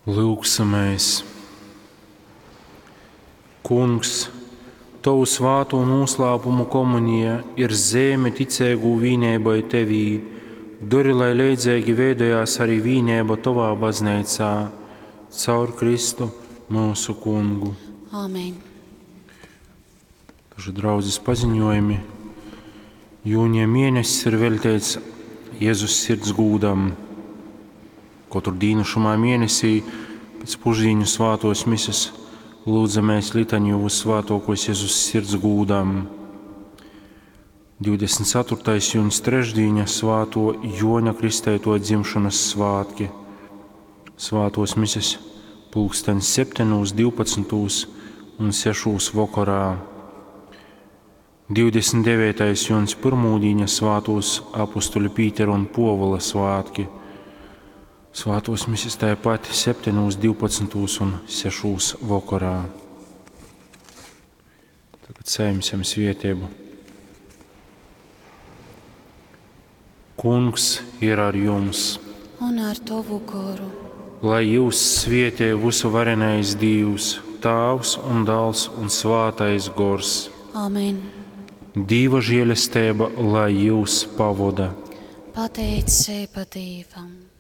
Lūksimies! Kungs, Tovu svātū noslēpumu komunija ir zeime ticeigū vīneibai Tevī. Dori, lai leidzīgi veidojās arī vīneiba Tovā bazneicā, caur Kristu mūsu Kungu. Āmen. Daži draudzes paziņojumi. Jūnija mēnesis ir veltīts Jēzus sirds gūdam. Katru dienu šumā mēnesī pēc pušdīņu svātos mises lūdzamies litaniju Vissvētākos Jēzus sirds gūdam. 24. jūnijas trešdīņa svāto Joņa Kristēto dzimšanas svētki. Svātos mises pulksten 7, 12 un 6 vakarā. 29. jūnijas pirmūdīņa svātos apustuļu Pītera un Povola svētki. Svātos mises tāpat 7, 12 un 6 vakarā. Tagad saimsim svētību. Kungs ir ar jums, Un ar tovu goru. lai jūs svietē visu varenais Dievs, Tāvs un Dāls un Svātais Gors. Āmen. Dīva žēlestība, lai jūs pavoda. Pateicība Dievam.